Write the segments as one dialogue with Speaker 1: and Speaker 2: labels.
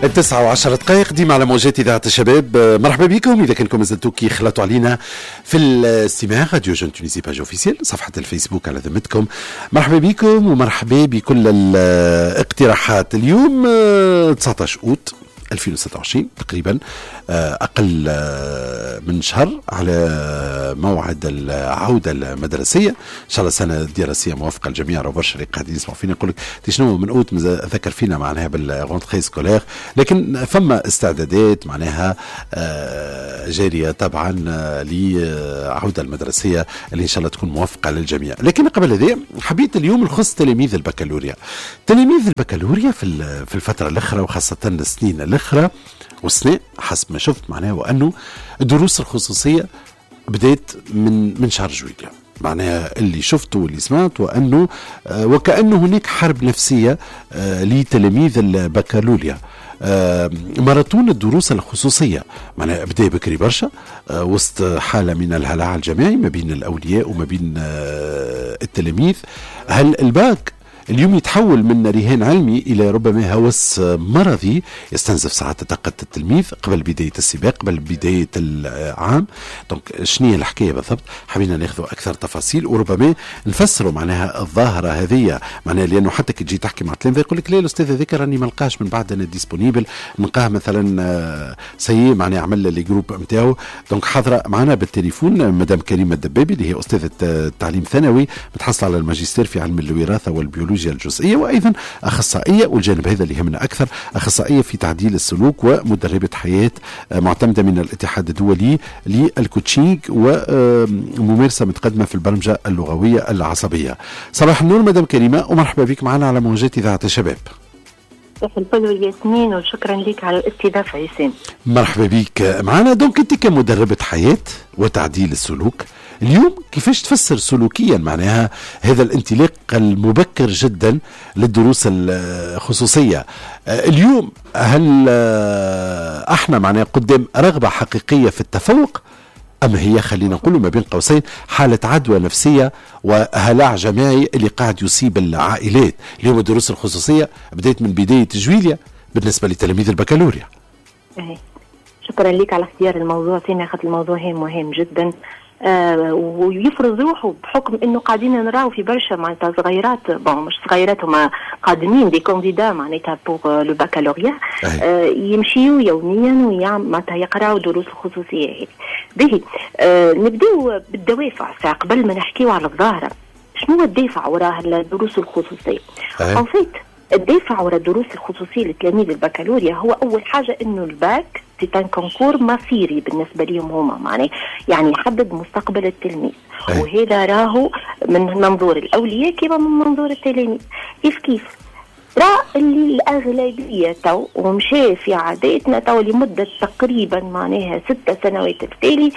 Speaker 1: 9:10 ديما على موجات إذاعة الشباب. مرحبا بكم إذا كنكم مازلتوا كي خلطوا علينا في الاستماع، radio jeunes Tunisie page officielle، صفحة الفيسبوك على ذمتكم. مرحبا بكم ومرحبا بكل الاقتراحات. اليوم 19 أوت 2026 تقريبا، أقل من شهر على موعد العودة المدرسية. إن شاء الله سنة دراسية موفقة للجميع. راه برشا اللي قاعدين يسمعوا فينا يقول لك شنو من أوت ذكر فينا معناها بال rentrée scolaire، لكن فما استعدادات معناها جارية طبعا للعودة المدرسية اللي إن شاء الله تكون موفقة للجميع. لكن قبل هذا حبيت اليوم نخص تلاميذ البكالوريا. تلاميذ البكالوريا في الفترة الأخرى وخاصة السنين الأخرى والسنة حسب ما شفت معناها وأنه الدروس الخصوصية بدأت من شهر جويلية. معناها اللي شفته واللي سمعت وأنه وكأنه هناك حرب نفسية لتلاميذ البكالوريا. ماراثون الدروس الخصوصية معناها بدأ بكري برشا، وسط حالة من الهلع الجماعي ما بين الأولياء وما بين التلاميذ. هل الباك اليوم يتحول من رهان علمي إلى ربما هوس مرضي يستنزف ساعات طاقة التلميذ قبل بداية السباق، قبل بداية العام؟ donc شنو هي الحكاية بالضبط؟ حبينا ناخذ أكثر تفاصيل وربما نفسروا معناها الظاهرة هذه، معناها لأنه حتى كي تجي تحكي مع التلاميذ يقول لك لا الأستاذ هذاك راني ما لقاش من بعد أنا disponible، نلقاه مثلا ça y est معناها عمل les groupes نتاعو. donc حاضرة معنا بالتليفون مدام كريمة الدبابي اللي هي أستاذة التعليم الثانوي، متحصلة على الماجستير في علم الوراثة والبيولوجيا الجزئية، وأيضا أخصائية، والجانب هذا اللي يهمنا أكثر، أخصائية في تعديل السلوك ومدربة حياة معتمدة من الاتحاد الدولي لل coaching وممارسة متقدمة في البرمجة اللغوية العصبية. صباح النور مدام كريمة ومرحبا بك معنا على موجات إذاعة الشباب.
Speaker 2: صباح الفل والياسمين وشكرا لك على الاستضافة ياسين.
Speaker 1: مرحبا بك معنا. donc أنت كمدربة حياة وتعديل السلوك اليوم كيفاش تفسر سلوكيا معناها هذا الانطلاق المبكر جدا للدروس الخصوصية اليوم؟ هل احنا معناها قدام رغبة حقيقية في التفوق أم هي خلينا نقول ما بين قوسين حالة عدوى نفسية وهلع جماعي اللي قاعد يصيب العائلات؟ اليوم الدروس الخصوصية بدأت من بداية جويليا بالنسبة لتلاميذ البكالوريا.
Speaker 2: شكرا لك على اختيار الموضوع سامي، خاطر الموضوع هام مهم جدا ويفرض روحه بحكم انه قاعدين نراو في برشا معناتها صغيرات، bon مش صغيرات، هما قادمين des candidats معناتها pour le baccalauréat، يمشيو يوميا ويعمل معناتها يقراو دروس الخصوصية هذه. باهي، نبداو بالدوافع ساعة قبل ما نحكيو على الظاهره. شنو هو الدافع وراء الدروس الخصوصية؟ en fait الدافع وراء الدروس الخصوصية لتلاميذ البكالوريا هو اول حاجة انه ال bac c'est un concours مصيري بالنسبة لهم هما، معناه يعني يحدد مستقبل التلميذ. وهذا راهو من منظور الاولياء كما من منظور التلاميذ كيف كيف. راه اللي الأغلبية تو ومشى في عاداتنا تو لمدة تقريبا معناها 6 سنوات التالي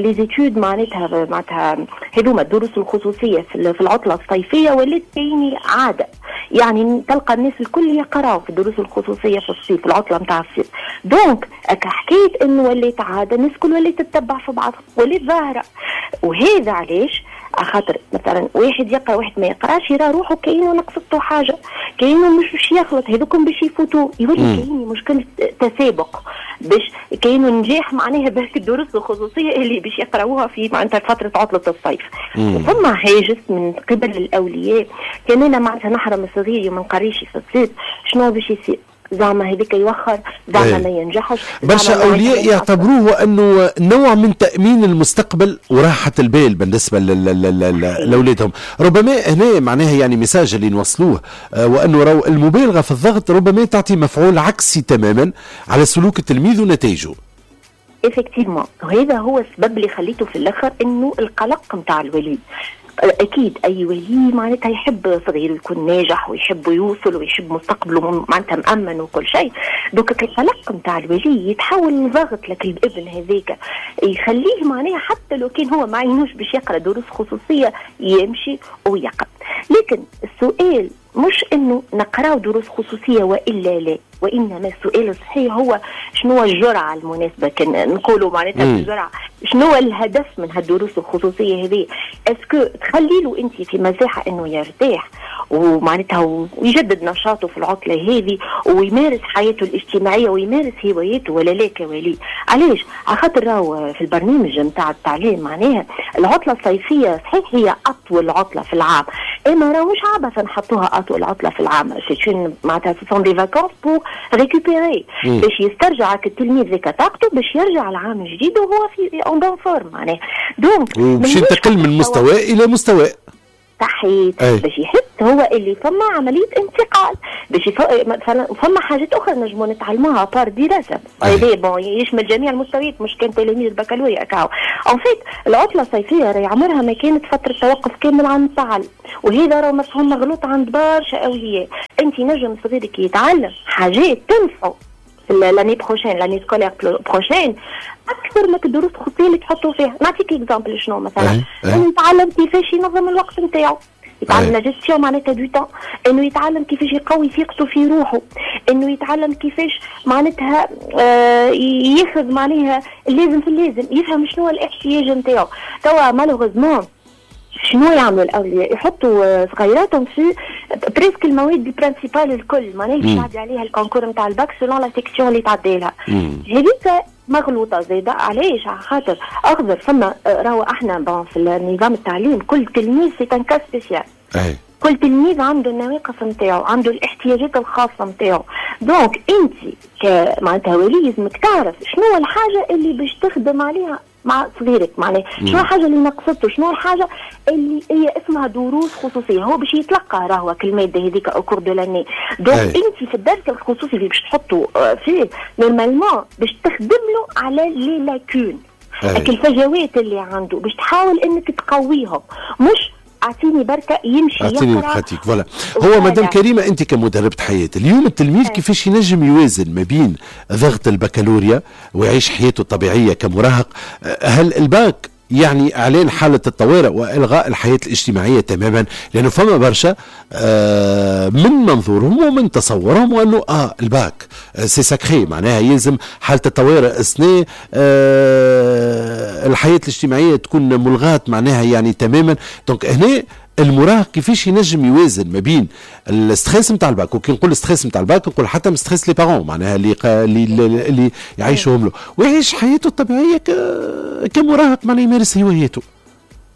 Speaker 2: les études معناتها هذوما الدروس الخصوصية في العطلة الصيفية ولات كاينة عادة، يعني تلقى الناس الكل يقراوا في الدروس الخصوصية في الصيف، في العطلة نتاع الصيف. donc حكاية انه ولات عاده، الناس الكل ولات تتبع في بعض، ولات ظاهره. وهذا علاش؟ خاطر مثلا واحد يقرا واحد ما يقراش يرى روحه كاينه نقصته حاجه، كاينه مش باش يخلط، هذوكم باش يفوتوا، يولي كاين مشكلة تسابق باش كاينه نجاح معناها بهك الدروس الخصوصية اللي باش يقراوها في معناتها فترة عطله الصيف. وفما هاجس من قبل الاولياء، كان انا معناتها نحرم صغيري وما نقريش في الصيف شنو باش يصير؟ زعما هذيك يوخر، زعما ما ينجحش.
Speaker 1: برشا اولياء يعتبروه انه نوع من تامين المستقبل وراحة البال بالنسبة لاولادهم. ربما هنا معناها يعني message اللي نوصلوه وانه رو المبالغة في الضغط ربما تعطي مفعول عكسي تماما على سلوك التلميذ ونتائجه.
Speaker 2: effectivement، وهذا هو السبب اللي خليته في الاخر انه القلق نتاع الولي. اكيد اي ولي معناتها يحب صغيرة يكون ناجح ويحب يوصل ويحب مستقبله معناتها مأمن وكل شيء. donc القلق نتاع الولي يتحول لضغط لك الابن هذاك، يخليه معناها حتى لو كان هو ما عينوش باش يقرا دروس خصوصية يمشي ويقرا. لكن السؤال مش انه نقراو دروس خصوصية والا لا. وانما السؤال الصحيح هو شنو الجرعة المناسبه، كان نقولوا معناتها الجرعه، شنو الهدف من هالدروس الخصوصية هذه؟ est-ce que تخلي له انت في مساحة انه يرتاح ومعناتها ويجدد نشاطه في العطلة هذه ويمارس حياته الاجتماعية ويمارس هواياته ولا لا كولي؟ علاش؟ على خاطر راهو في البرنامج نتاع التعليم معناها العطلة الصيفية صحيح هي اطول عطله في العام، اما راهو مش عبثا نحطوها اطول عطله في العام. c'est معناتها ce sont des vacances pour récupérer، باش يسترجع التلميذ ذيك طاقته باش يرجع العام الجديد وهو في en bonne forme معناها.
Speaker 1: donc باش ينتقل من مستوى الى مستوى.
Speaker 2: صحيح، باش يحس هو اللي فما عملية انتقال، باش مثلا فما حاجات اخرى نجموا نتعلموها à part دراسه. هذا bon يشمل جميع المستويات، مش كان تلاميذ البكالوريا كاو. en fait العطلة الصيفية راهي عمرها ما كانت فترة توقف كامل عن التعلم، وهذا راه مفهوم مغلوط عند برشا اولياء. انت نجم صغيرك يتعلم حاجات تنفعه l'année prochaine، l'année scolaire prochaine، اكثر من الدروس الخصوصية اللي تحطوا فيها. نعطيك exemple، شنو مثلا؟ انه يتعلم كيفاش ينظم الوقت نتاعو، يتعلم la gestion معناتها du temps، انه يتعلم كيفاش يقوي ثقته في روحه، انه يتعلم كيفاش معناتها ياخذ معناها اللازم في اللازم، يفهم شنو الاحتياج نتاعو. توا malheureusement شنو يعملوا الاولياء؟ يحطوا صغيراتهم في presque المواد ال principales الكل، معناها اللي تعدي عليها ال concours نتاع ال bac selon la section اللي تعدي لها. هذيك مغلوطة زاده. علاش؟ على خاطر اخذر فما راهو احنا bon في النظام التعليم كل تلميذ c'est un cas spécial. كل تلميذ عنده النواقص نتاعو، عنده الاحتياجات الخاصة نتاعو. donc انت معناتها ولي لازمك تعرف شنو الحاجة اللي باش تخدم عليها مع صغيرك، معناها شنو الحاجة اللي نقصته، شنو الحاجة اللي هي اسمها دروس خصوصيه، هو باش يتلقى راهو المادة هذيك au cours de l'année. donc انت في الدرس الخصوصي اللي باش تحطه فيه normalement باش تخدم له على les lacunes، الفجوات اللي عنده، باش تحاول انك تقويهم، مش اعطيني بركة يمشي.
Speaker 1: اعطيني pratique، voilà. هو مدام كريمه، انت كمدربه حياه، اليوم التلميذ كيفاش ينجم يوازن ما بين ضغط البكالوريا ويعيش حياته الطبيعية كمراهق؟ هل الباك يعني اعلان حاله الطوارئ والغاء الحياة الاجتماعية تماما؟ لانه فما برشا من منظورهم ومن تصورهم وانه الباك c'est sacré، معناها يلزم حاله الطوارئ السنه، الحياة الاجتماعية تكون ملغاه معناها يعني تماما. donc هنا المراهق كيفاش ينجم يوازن ما بين ال stress نتاع الباك؟ وكي نقول stress نتاع الباك نقول حتى stress les parents معناها اللي يعيشوهم له، ويعيش حياته الطبيعية كمراهق، معناها يمارس هواياته.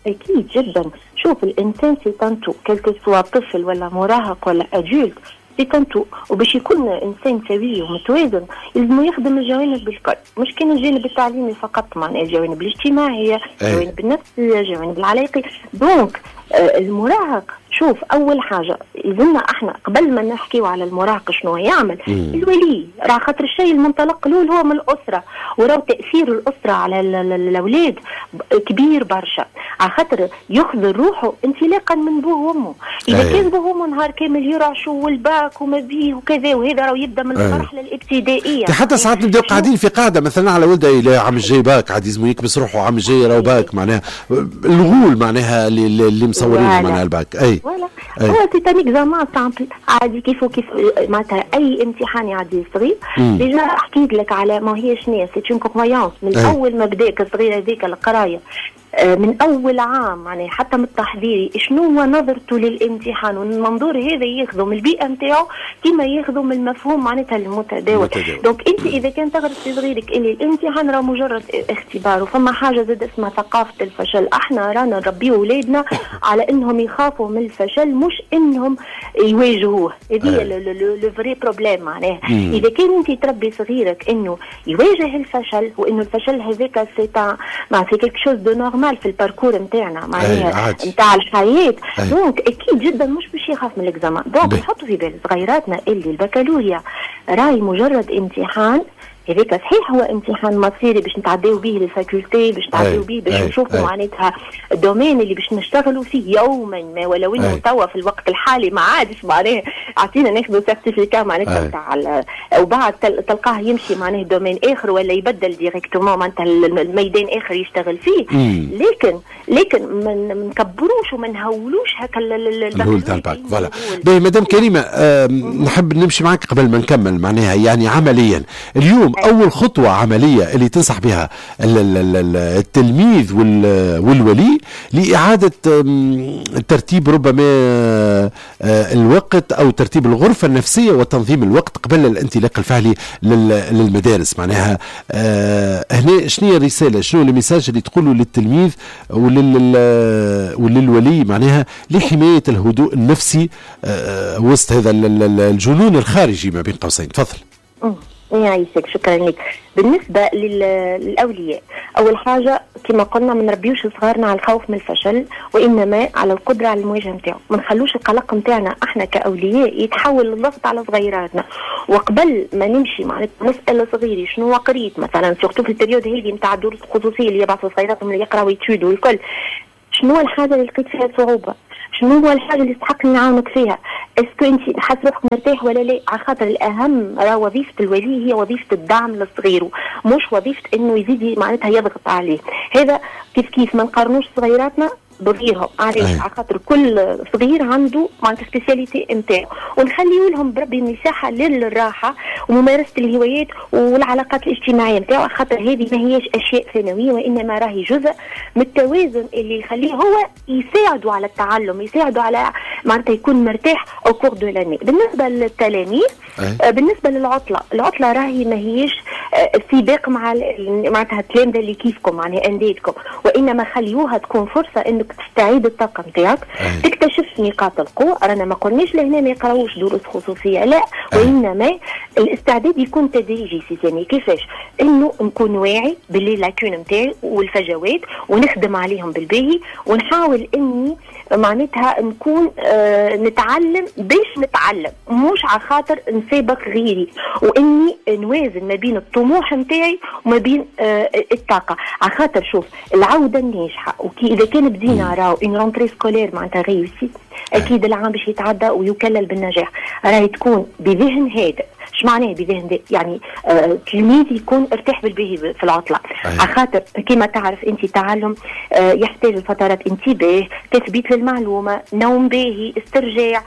Speaker 2: اكيد جدا. شوف، الانسان c'est un tout، quel que soit طفل ولا مراهق ولا adulte، c'est un tout. وباش يكون انسان سوي ومتوازن لازم يخدم الجوانب الكل، مش كان الجانب التعليمي فقط، معناها الجوانب الاجتماعيه، الجوانب النفسيه، الجوانب العلاقي. donc المراهق، شوف، اول حاجة يلزمنا احنا قبل ما نحكيو على المراهق شنو يعمل، الولي راه خاطر الشيء المنطلق الاول هو من الاسره، وراو تاثير الاسرة على الاولاد كبير برشا، على خاطر يخذ روحه انطلاقا من بوه وامه. اذا كان بوه وامه نهار كامل يرعشوا والباك وما بيه وكذا، وهذا راهو يبدا من المرحلة الابتدائيه.
Speaker 1: حتى ساعات نبداو قاعدين في قاعدة مثلا على ولده، الى عام الجاي باك، عاد يلزمو يكبس روحه، عام الجاي راهو باك، معناها الغول معناها اللي مصورينه معناها الباك اي.
Speaker 2: voilà، هو c'est un examen simple، عادي كيف كيف معناتها اي امتحان يعدي صغير. déjà حكيت لك على ما هي شنو، c'est une croyance من اول ما بداك الصغير هذيك القرايه، من اول عام يعني حتى من التحضيري، شنو هو نظرته للامتحان؟ والمنظور هذا ياخذه من البيئة نتاعو كما ياخذه من المفهوم معناتها المتداول. donc انت اذا كان تغرس في صغيرك اللي الامتحان راه مجرد اختبار، وفما حاجة زاد اسمها ثقافة الفشل، احنا رانا نربيو اولادنا على انهم يخافوا من الفشل مش انهم يواجهوه. هذه le vrai problème. معناها اذا كان انت تربي صغيرك انه يواجه الفشل وانه الفشل هذاك c'est c'est quelque chose de normal في ال parcours نتاعنا معناها نتاع الحياه، donc اكيد جدا مش باش يخاف من l'examen. donc نحطوا في بال صغيراتنا اللي البكالوريا راي مجرد امتحان. هذاك صحيح هو امتحان مصيري باش نتعداو به لل faculté، باش نتعداو به باش نشوفوا معناتها ال domaine اللي باش نشتغلوا فيه يوما ما، ولو انه توا في الوقت الحالي ما عادش معناها عطينا ناخذوا certificat معناتها نتاع، وبعد تلقاه يمشي معناه domaine اخر ولا يبدل directement معناتها الميدان اخر يشتغل فيه. لكن ما نكبروش وما نهولوش هكا
Speaker 1: الهول تاع ال bac. voilà، باهي مدام كريمه، نحب نمشي معك قبل ما نكمل معناها يعني عمليا اليوم اول خطوة عملية اللي تنصح بها التلميذ والولي لاعادة ترتيب ربما الوقت او ترتيب الغرفة النفسية وتنظيم الوقت قبل الانطلاق الفعلي للمدارس، معناها هنا شنو هي الرساله، شنو ال message اللي تقوله للتلميذ وللولي معناها لحماية الهدوء النفسي وسط هذا الجنون الخارجي ما بين قوسين؟ تفضل.
Speaker 2: يعيشك، شكرا لك. بالنسبة للأولياء، أول حاجة كما قلنا ما نربيوش صغارنا على الخوف من الفشل، وإنما على القدرة على المواجهة نتاعو. ما نخلوش القلق نتاعنا احنا كأولياء يتحول للضغط على صغيراتنا. وقبل ما نمشي معناتها نسأل صغيري شنو قريت مثلا، surtout في ال période هذه نتاع الدروس الخصوصية اللي يبعثوا صغيراتهم اللي يقراوا études والكل، شنو الحاجة اللي لقيت فيها صعوبة؟ شنو هو الحاجة اللي تستحق نعاونك فيها؟ est-ce que انت حاسس روحك مرتاح ولا لا؟ على خاطر الاهم راه وظيفة الولي هي وظيفة الدعم للصغير، مش وظيفة انه يزيد معناتها يضغط عليه. هذا كيف كيف ما نقارنوش صغيراتنا بغيرهم. علاش؟ على خاطر كل صغير عنده معناتها spécialité نتاعو، ونخليو لهم بربي مساحة للراحة وممارسة الهوايات والعلاقات الاجتماعية نتاعو، خاطر هذه ما هيش اشياء ثانويه، وانما راهي جزء من التوازن اللي يخليه هو يساعده على التعلم، يساعده على معناتها يكون مرتاح au cours de l'année. بالنسبة للتلاميذ، بالنسبة للعطله، العطلة راهي ما هيش سباق مع معناتها التلامذه اللي كيفكم، معناها انديتكم، وانما خليوها تكون فرصة انك تستعيد الطاقة نتاعك، تكتشف نقاط القوه. رانا ما قلناش لهنا ما يقراوش دروس خصوصيه، لا، وانما الاستعداد يكون تدريجي. سي سامي، كيفاش؟ انه نكون واعي ب les lacunes نتاعي والفجوات ونخدم عليهم بالباهي، ونحاول اني معناتها نكون نتعلم باش نتعلم، مش على خاطر نسابق غيري، واني نوازن ما بين الطموح نتاعي وما بين الطاقه. على خاطر شوف، العودة الناجحة وكي اذا كان بدينا راهو une rentrée scolaire معناتها réussie، اكيد العام باش يتعدى ويكلل بالنجاح، راهي تكون بذهن هادئ. ايش معناه بذهن؟ يعني تلميذ يكون ارتاح بالباهي في العطله، على خاطر كما تعرف انت التعلم يحتاج لفترات انتباه، تثبيت للمعلومه، نوم باهي، استرجاع.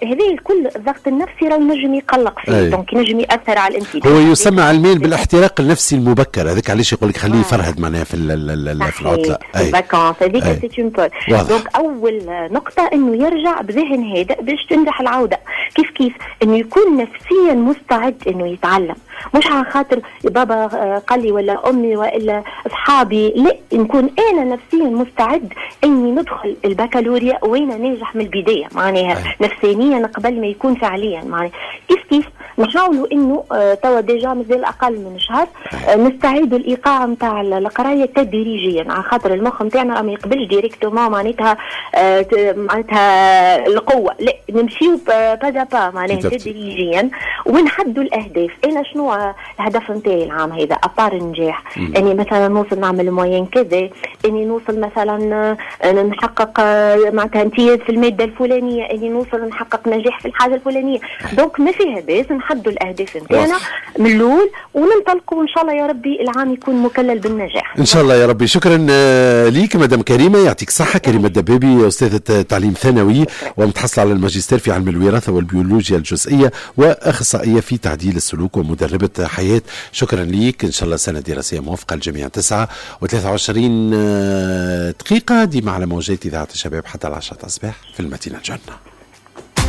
Speaker 2: هذا الكل الضغط النفسي راه ينجم يقلق فيه، donc ينجم ياثر على الانتباه.
Speaker 1: هو يسمى علميا بالاحتراق النفسي المبكر، هذاك علاش يقول لك خليه يفرهد معناها في العطله.
Speaker 2: ال vacances هذيك c'est une pause. donc اول نقطة انه يرجع بذهن هادئ باش تنجح العوده. كيف كيف انه يكون نفسيا مستعد انه يتعلم، مش على خاطر بابا قال لي ولا امي والا اصحابي، لا، نكون انا نفسيا مستعد اني ندخل البكالوريا وانا ناجح من البدايه، معناها نفسانيا قبل ما يكون فعليا. معناها كيف كيف نحاولوا انه توا déjà مازال اقل من شهر، نستعيدوا الايقاع نتاع القراية تدريجيا، على خاطر المخ نتاعنا ما يقبلش directement معناتها القوه، لا، نمشيو pas à pas معناها تدريجيا، ونحدوا الاهداف. انا شنو الهدف نتاعي العام هذا à part النجاح؟ اني مثلا نوصل نعمل moyenne كذا، اني نوصل مثلا نحقق معناتها امتياز في المادة الفلانيه، اني نوصل نحقق نجاح في الحاجة الفلانيه. donc ما فيها باس نحدوا الاهداف نتاعنا من الاول وننطلقوا، وان شاء الله يا ربي العام يكون مكلل بالنجاح.
Speaker 1: ان شاء الله يا ربي. شكرا ليك مدام كريمه، يعطيك الصحه. كريمة الدبابي، استاذه تعليم ثانوي ومتحصله على الماجستير في علم الوراثة والبيولوجيا الجزئية واخصائيه في تعديل السلوك ومدربه حياه. شكرا ليك، ان شاء الله سنة دراسية موفقة للجميع. 9 و23 دقيقه، ديما على موجات اذاعة الشباب حتى 10 الصباح في المدينة الجنه.